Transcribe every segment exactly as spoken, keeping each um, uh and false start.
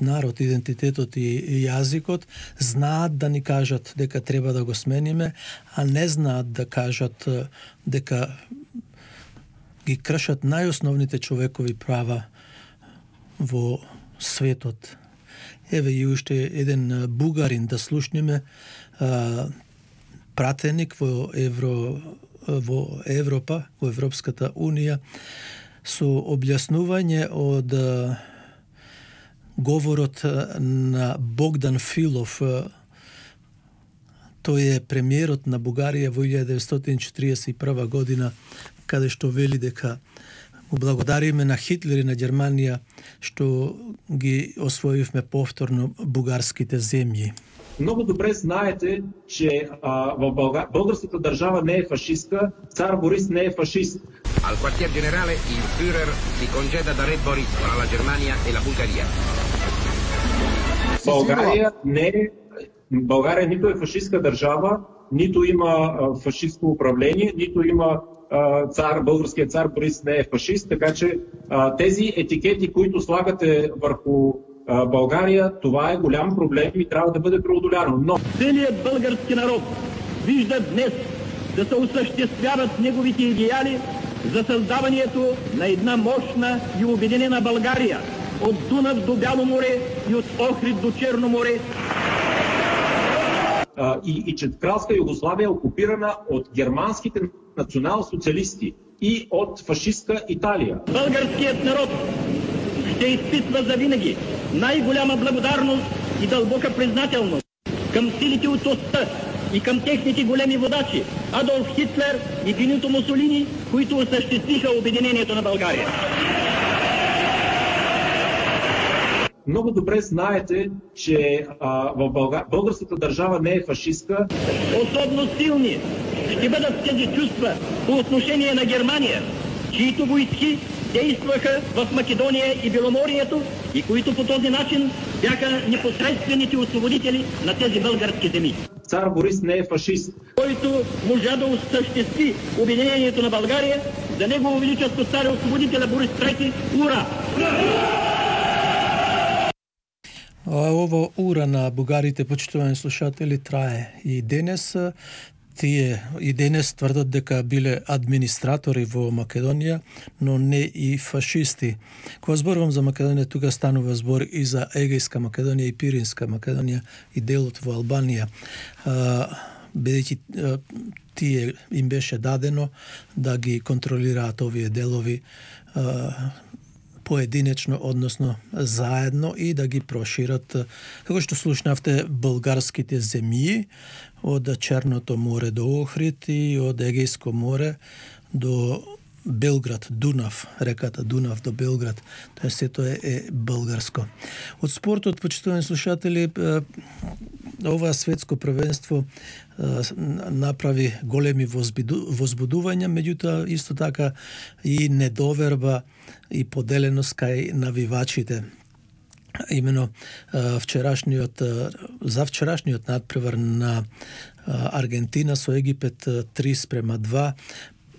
народ, идентитетот и јазикот, знаат да ни кажат дека треба да го смениме, а не знаат да кажат дека ги кршат најосновните човекови права во светот. Еве и уште еден бугарин да слушнеме, пратеник во Евро во Европа, во Европската унија, со објаснување од говорот на Богдан Филов. Тој е премиерот на Бугарија во илјада деветстотини четиридесет и прва година, каде што вели дека му благодариме на Хитлер и на Германија што ги освоивме повторно бугарските земји. Много добре знаете, че а, в Бълга... българската държава не е фашистка, цар Борис не е фашист. Al quartier generale il Führer si congeda da Re Boris tra la Germania e la Bulgaria. България не е България нито е фашистка държава, нито има фашистско управление, нито има цар, българският цар Борис не е фашист, така че тези етикети, които слагате върху България, това е голям проблем и трябва да бъде преодоляно. Но целият български народ вижда днес да се осъществяват неговите идеали за създаването на една мощна и обединена България от Дунав до Бяло море и от Охрид до Черно море. И, и че Кралска Югославия е окупирана от германските национал-социалисти и от фашистка Италия. Българският народ ще изпитва завинаги най-голяма благодарност и дълбока признателност към силите от оста и към техните големи водачи Адолф Хитлер и Бенито Мусолини, които осъществиха обединението на България. Много добре знаете, че а, в Бълга... българската държава не е фашистка. Особено силни ще бъдат тези чувства по отношение на Германия, чието войски действаха в Македония и Беломорието и които по този начин бяха непосредствените освободители на тези български земи. Цар Борис не е фашист. Който можа да осъществи обединението на България, за негово величество царя освободителя Борис трети, ура! Ово ура на бугарите, почитувани слушатели, трае и денес. Тие и денес тврдат дека биле администратори во Македонија, но не и фашисти. Кога зборувам за Македонија, тука станува збор и за Егејска Македонија и Пиринска Македонија и делот во Албанија. Бидејќи тие им беше дадено да ги контролираат овие делови поединечно, односно заедно и да ги прошират, како што слушнавте, българските земји од Черното море до Охрид и од Егејско море до Белград, Дунав, реката Дунав до Белград. Тоа сето е, е българско. Од спортот, почитувани слушатели, ова светско првенство направи големи возбудувања, меѓутоа исто така и недоверба и поделеност кај навивачите. Имено вчерашниот за вчерашниот надпревар на Аргентина со Египет три спрема два,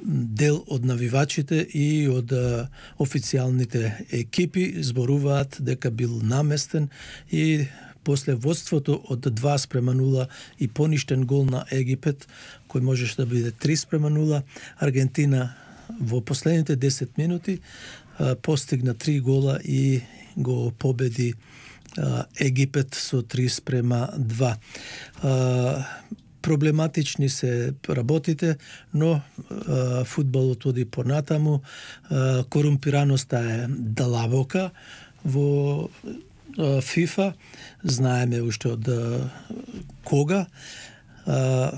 дел од навивачите и од официјалните екипи зборуваат дека бил наместен и после водството од два спрема нула и поништен гол на Египет, кој можеше да биде три спрема нула, Аргентина во последните десет минути постигна три гола и го победи Египет со три спрема два. Проблематични се работите, но а, фудбалот оди понатаму. А, корумпираноста е длабока во а, ФИФА. Знаеме уште од а, кога. А,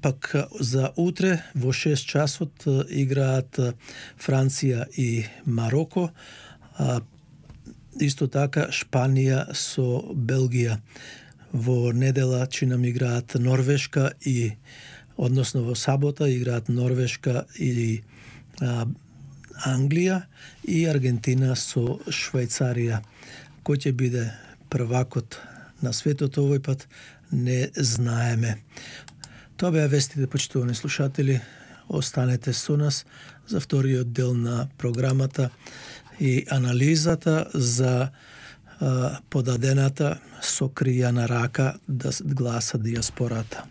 пак за утре во шест часот а, играат а, Франција и Мароко. А, исто така Шпанија со Белгија. Во недела че нам играат Норвешка и, односно во сабота играат Норвешка и а, Англија и Аргентина со Швајцарија. Кој ќе биде првакот на светот овој пат не знаеме. Тоа беа вестите, почитувани слушатели. Останете со нас за вториот дел на програмата и анализата за подадената со кријана рака да гласа диаспората.